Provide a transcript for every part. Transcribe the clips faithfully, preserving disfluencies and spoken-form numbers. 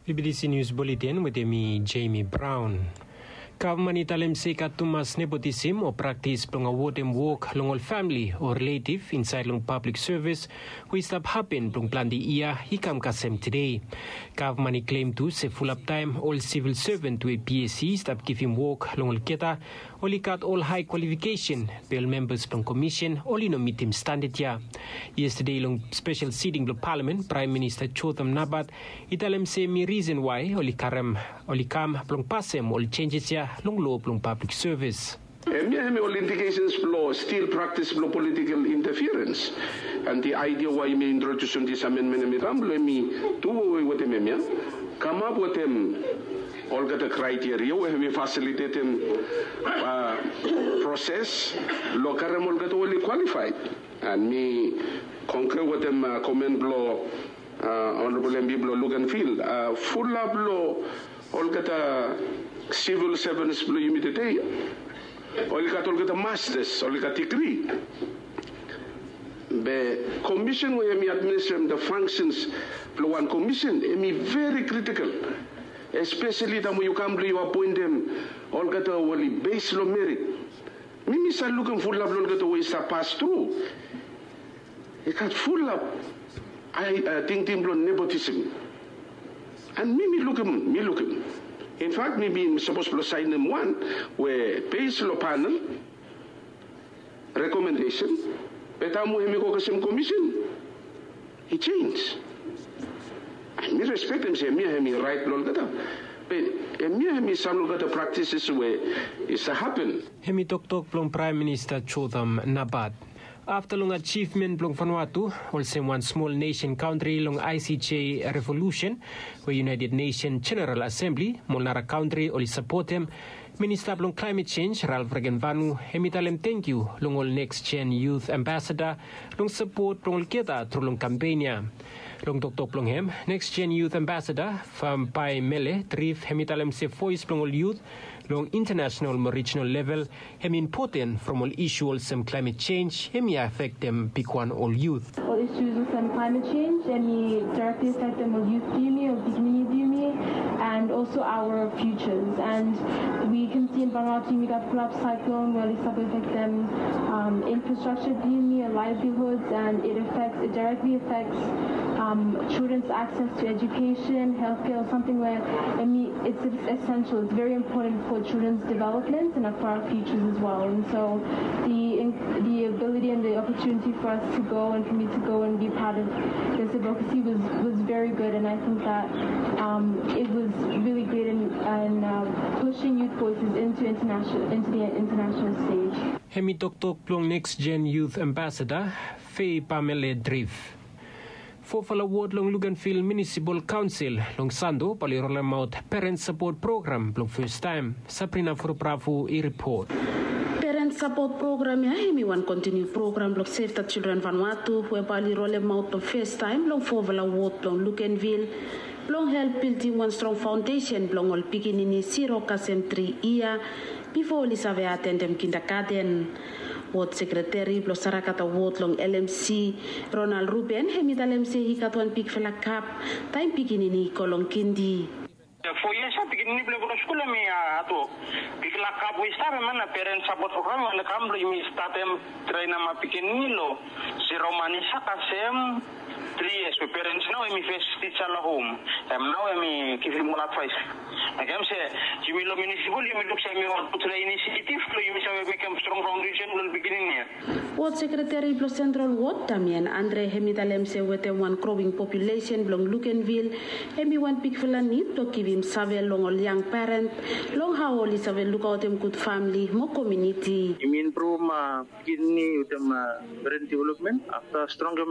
Bibidisi nius buletin wetem mi, Jamie Brown. Gavman i talem se i gat tumas nepotisim o praktis blong awodem wok long ol famili o riletiv insaed long pablik sevis, we i stap hapen blong plante yia, i kam kasem tede. Gavman i klem tu se fulap taem ol sivil seven we PSC i stap givim wok long olgeta, oli gat ol hae kwalifikesen, be ol membas blong komisen oli no mitim standad ya. Yestade long spesel siting blong palamen, Praem Minista Jotham Napat i talem se mi risen wae oli karem, oli kam blong pasem ol jenjes ya long loa blong pablik sevis. Hemia hemi ol indikesens blong stil praktis blong politikel intafirens. An di aedia wae yumi introdusim dis amenmen hemi kam blong hemi du wetem hemia, kamap wetem olgeta kraeteria we hemi fasilitetem proses blong karem olgeta we oli kwalifaed. An mi kongre wetem komen blong Honorabol MP blong Luganville, fulap long olgeta sivil sevens blong yumi tede oli gat olgeta mastas, oli gat digri. Be komisen we hemi administrem da fangsens blong wan komisen hemi veri kritikal, espeseli taem we yu kam blong yu apoentem olgeta we oli bes long merit. Mi mi save lukim fulap long olgeta we i stap pas tru, i gat fulap tingting blong nepotisim. An mi mi lukim, mi lukim, infak mi bin sapos blong saenem wan we bes long panel rekomendesen, be taem we hemi go kasem komisen i jenj. An mi respektem se hemia hemi raet blong olgeta, be hemia hemi sam long olgeta praktises we i save hapen. Hemi toktok blong Praem Minista Jotham Napat. Afta long ajivmen blong Vanuatu olsem wan smol nesen kantri long ICJ revolusen, we United Nesen Jeneral Asembli mo ol nara kantri oli sapotem, Minista blong Klaemet Jenj, Ralph Regenvanu, hemi talem tangkiu long ol Next Gen Youth Ambassador long sapot blong olgeta tru long kampen ya. Long toktok blong hem, Next Gen Youth Ambassador Fambaemele Drift hemi talem se voes blong ol yut long intanasenal mo rijinal level hemi impoten from ol isu olsem klaemet jenj hemi afektem bigwan ol yut. Ol isus olsem klaemet jenj hemi daerekli afektem ol yut blong yumi, ol pikinini blong yumi, and also our futures. And we can see in Vanuatu yumi gat fulap saeklon we oli save afektem infrastructure blong yumi, livelihoods, and it affects, it directly affects children's access to education, healthcare, or something where, I mean, it's essential, it's very important for children's development and for our futures as well. And so the the ability and the opportunity for us to go and for me to go and be part of this advocacy was, was very good, and I think that um, it was really great in, in uh, pushing youth voices into international, into the international stage. Hemi toktok blong Next Gen Youth Ambassador Faye Pamela Drift. Fofala wod long Luganville Municipal Council long Sando bae oli rolemaot Parent Support Program blong fes taem. Sabrina Furbrafu i ripot. Parent Support Program ya hemi wan kontiniu program blong Save the Children Vanuatu we bae oli rolemaot long fes taem long fofala wod blong Luganville blong help bildim wan strong faondesen blong ol pikinini zero kasem tri yia bifo oli save atendem kindagaten. Wod sekreteri blong Sarakata wod long LMC, Ronald Ruben, hemi talem se i gat wan bigfala gap taem pikinini i go long kindi. Fo yias ya pikinini blong i go long skul hemi hatwok. Bigfala gap we i stap hemia na Parent Support Program we oli kam blong yumi statem traenem pikinini long zero manis ya kasem tri yias we parents nao hemi fes tija long hom. Hem nao hemi givim ol advaes. Mekem se yumi long munisipal yumi luk se hemi wan gudfala inisiativ blong yumi save mekem strong faondesen blong ol pikinini ya. Wod sekreteri blong Sentral Wod, Damian Andre, hemi talem se wetem wan growing populesen blong Luganville, hemi wan bigfala nid blong givim save long ol yang parent long hao oli save lukaotem gud famili mo komuniti. Yumi impruvum pikinini wetem parent development afta strongem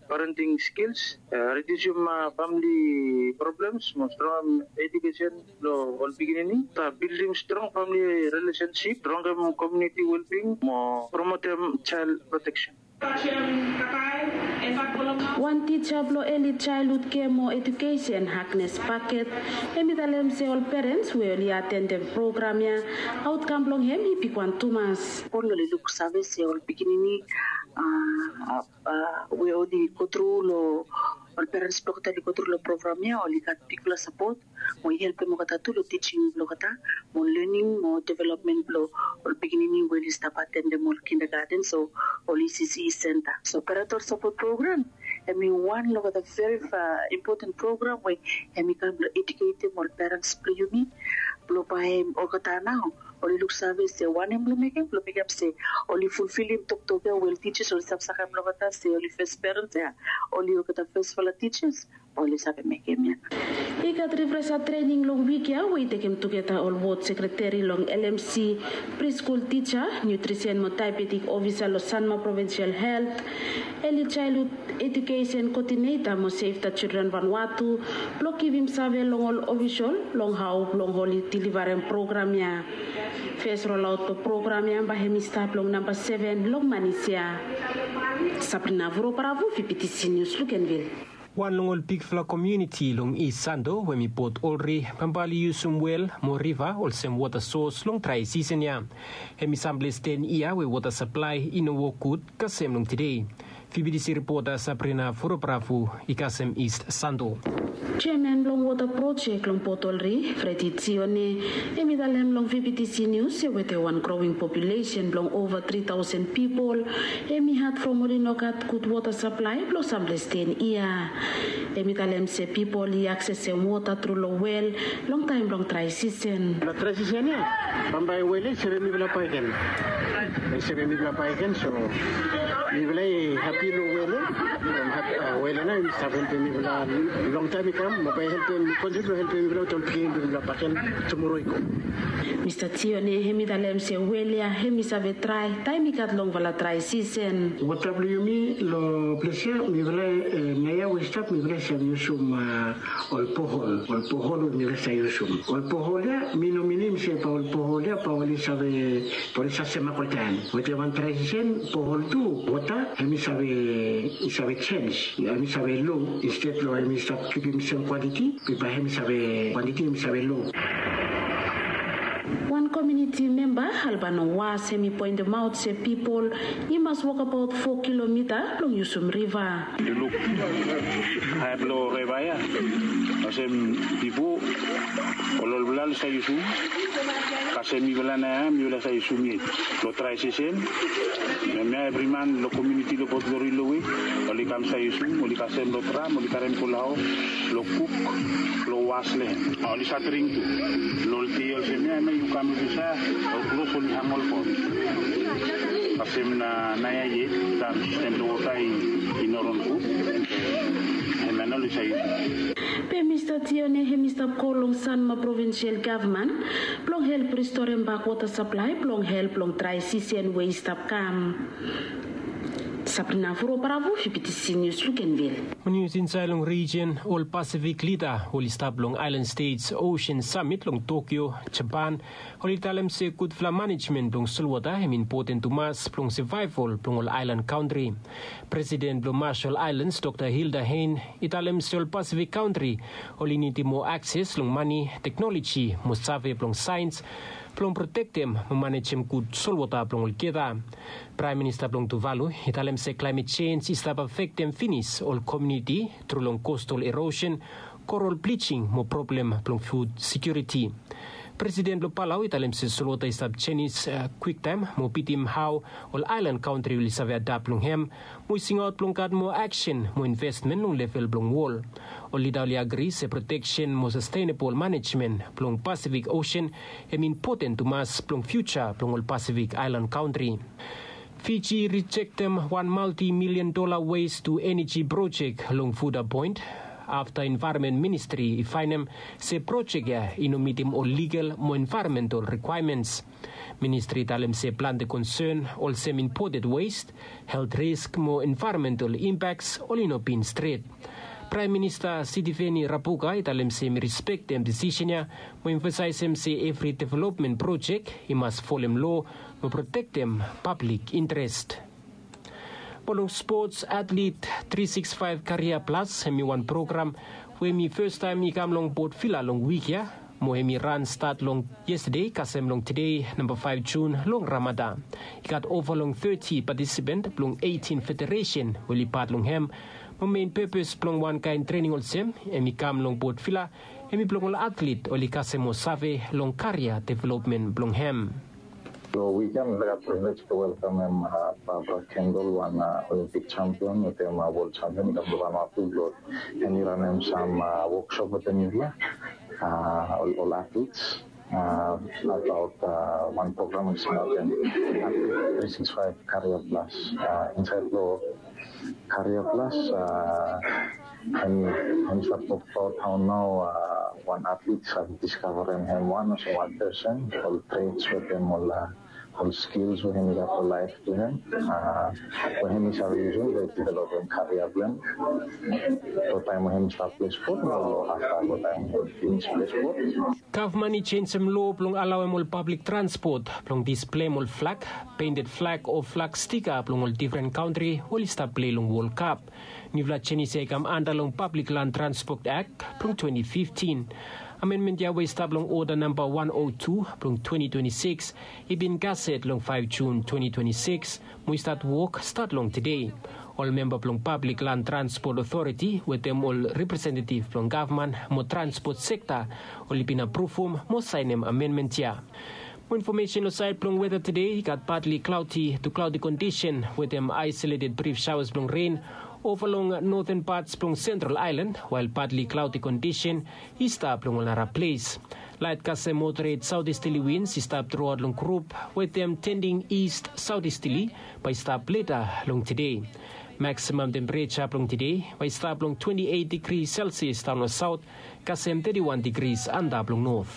parenting skils, ridiusim famili problems mo strongem edukesen blong ol pikinini. Afta bildim strong famili rilesensip, strongem komuniti welbing mo promotem jael proteksen. Wan tija blong Early Childhood Care mo Edukesen, Agnes Paket, hemi talem se ol parents we oli atendem program ya, aotkam blong hem i bigwan tumas. Oli luksave se ol pikinini we oli gotru long Ol perens blong olgeta oli go tru long program ya oli gat bigfala sapot mo i helpem olgeta tu long tijing blong olgeta mo lening mo developmen blong ol pikinini we oli stap atendem ol kindergarten so ol ecc senta. So parental sapot program em i wan long olgeta veri impoten program we em i kam blong eduketem ol perens blong yumi blong bae olgeta nao oli luksave se wanem blong mekem blong mekem se oli fulfilim toktok ya we ol tijas oli stap sakem long olgeta se oli fes perens ya oli olgeta fesfala tijas oli save mekem ya. I gat rifresa trening long wik ya we i tekem tugeta ol wod sekreteri long lmc, priskul tija, nutrisen mo daebetik ofisa long sanma provinsial helt, eli jaelhud edukesen koodineta mo sefta jildren vanwatu blong givim save long ol ofisol long hao blong oli dilivarem program ya. Fes rolaot blong program ya bae hem i stap long namba seven long manis ya. Sabrina vuro paravu vptc nius lukenvil. Wan long ol bigfala komuniti long is sando we mi pot olri bambali yusum wel mo riva olsem wota sos long drai sisen ya. Hem i samples ten yia we wota saplai i no wok gud kasem long tide. Vptc ripota sabrina foroprafu i kasem ist sando. Jeaman blong wota projek long pot olri fredi tione hem i talem long vptc nius se wete wan growing populesen blong ova tri taosen pipol hem i had from oli no gat gud wota saplai blong samples ten yia. Hem i talem se pipol i aksesem wota tru long wel long taem blong drai sisen. Long drai sisen ya bambae wel ya i save mipela baeken. I save mipela baeken so mipela i hapi long wel ya. Wel ya nao i save helpem mipela long taem i kam mo bae helpem kontri blong helpem mipela wetem pikinini blong mipela baeken tumoro i go. Mista tione hem i talem se wel ya hem i save drai taem i gat longfala drai sisen. Wota blong yumi long ples ya mifala naia we i stap mifala i save yusum ol pohol ol pohol we mifala i save yusum ol pohol ya mi no minim se bae ol pohol ya bae oli save bae oli save semak oltaem wetem wan drai sisen pohol tu wota hem i save i save jens hem i save lo insted long hem i stap kipim sem kwantiti be bae hem i save kwantiti hem i save lo. Wan komiuniti memba albano was hem i poentemaot se pipol i mas wokabaot fo kilomita blong yusum riva. Yu luk hae blong riva ya olsem bifo ol olfala oli save yusum kasem mifala nao ya mifala save yusum yet long drai sisen. Hemia evri man long komiuniti long bot lori long we oli kam save yusum oli kasem long dram oli karem go long haos long kuk long was long hem oli save dring tu. Long ol dei olsem ya hemia yu kam olsem sa ol klos oli hang olgeta olsem na naia yet taem sistem blong wota i no ron gud. Hemia nao oli save yusum. Be mista tione hem i stap go long sanma provinsial gavman blong help ristorem bak wota saplai blong help long drai sisen we i stap kam. Sabrina furo paravu fibitisi nius lukenvil. Nius insaed long rijen ol pasifik lida oli stap long aelan stets osen samit long tokyo, japan, oli talem se gudfala manejmen blong solwota hem impoten tumas blong sevaeval blong ol aelan kantri. Presiden blong masol aelans dokta hilda hein i talem se ol pasifik kantri oli nidim moa akses long mane, teknoloji mo save blong saens blong protektem mo manejem gud solwota blong olgeta. Praem minista blong tuvalu i talem se klaemet jenj i stap afektem finis ol komiuniti tru long kostal erosen, koral blijing mo problem blong fud sekiuriti. Presiden blong palau i talem se solwota i stap jenis kwiktaem mo bitim hao ol aelan kantri oli save adap long hem mo i singaot blong gat moa aksen mo investmen long level blong wol. Ol lida oli agri se proteksen mo sastenabol manejmen blong pasifik osen hem impoten tumas blong fiuja blong ol pasifik aelan kantri. Fiji i rijektem wan maltimilian dola wes tu eneji projek long fuda point afta envaeronmen ministri i faenem se projek ya i no mitim ol ligal mo envaeronmental rikwaemens. Ministri i talem se plante konsen olsem impoted wes, helt risk mo envaeronmental impaks oli no bin stret. Praem minista sitiveni rabuka i talem se mi rispektem disisen ya mo emfasaesem se evri developmen projek i mas folem loa mo protektem pablik interes. Mo long spots atlit tri siks faef karia plas hem i wan program we hem i fastaem i kam long bot vila long wik ya mo hem i ran stat long yestade kasem long tede namba faef jun long ramada. I gat ova long teti patisipent blong eitin federesen we oli pat long hem Mo mein pepes blong wankaen trening olsem hem i kam long Port Vila, hem i blong ol atlet oli kasem mo save long karia developmen blong hem. Long wiken mi gat privilege blong welkamem Barbara Kendall, wan Olympic champion wetem world champion i kam long Vanuatu blong hem i ranem sam woksop wetem yufala ol atlets abaot wan program we i singaot hem Atlet tri sikis faef Career Plus. Insaed long Career Plus hem i stap tokbaot hao nao wan atlet i save diskavarem hem wan olsem wan pesen, ol trets wetem ol ol skils we hem i gat long laef blong hem we hem i save yusum blong developem karia blong hem long taem we hem i stap plei spot mo long afta long taem we hem i finis plei spot. Gavman i jenisim loa blong alaoem ol pablik transpot blong displem ol flag, peinted flag o flag stika blong ol difren kantri oli stap plei long Wol Kap. Niufala jenis ya i kam anda long Pablik Lan Transpot Ak blong twenti fiftin. Amenmen ya we i stap long oda namba wan o tu blong twenti twenti sikis i bin gaset long faef Jun twenti twenti sikis mo i stat wok stat long tede. Ol memba blong Pablik Lan Transpot Otoriti wetem ol representetif blong gavman mo transpot sekta oli bin apruvum mo saenem amenmen ya. Mo infomesen long saed blong weta tede, i gat patli klaoti tu klaoti kondisen wetem aesoleted brif saoas blong ren ova long noten pats blong Sentral Aelan, wael patli klaoti kondisen i stap long ol nara ples. Laet kasem moderet saotisteli wins i stap truaot long grup wetem tending ist saotisteli bae i stap leta long tede. Maksimam tempereja blong tede bae i stap long twenti eit digri selsias daon long saot kasem teti wan digris antap long not.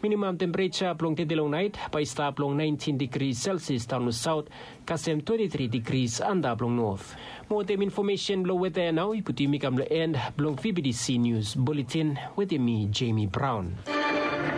Minimam tempereja blong tede long naet bae i stap long naentin digris selsias daon long saot kasem twenti tri digris antap long not. Mo wetem infomesen blong weta ya nao i putum yumi kam long en blong vbtc nius buletin. Wetem mi Jemi Braon.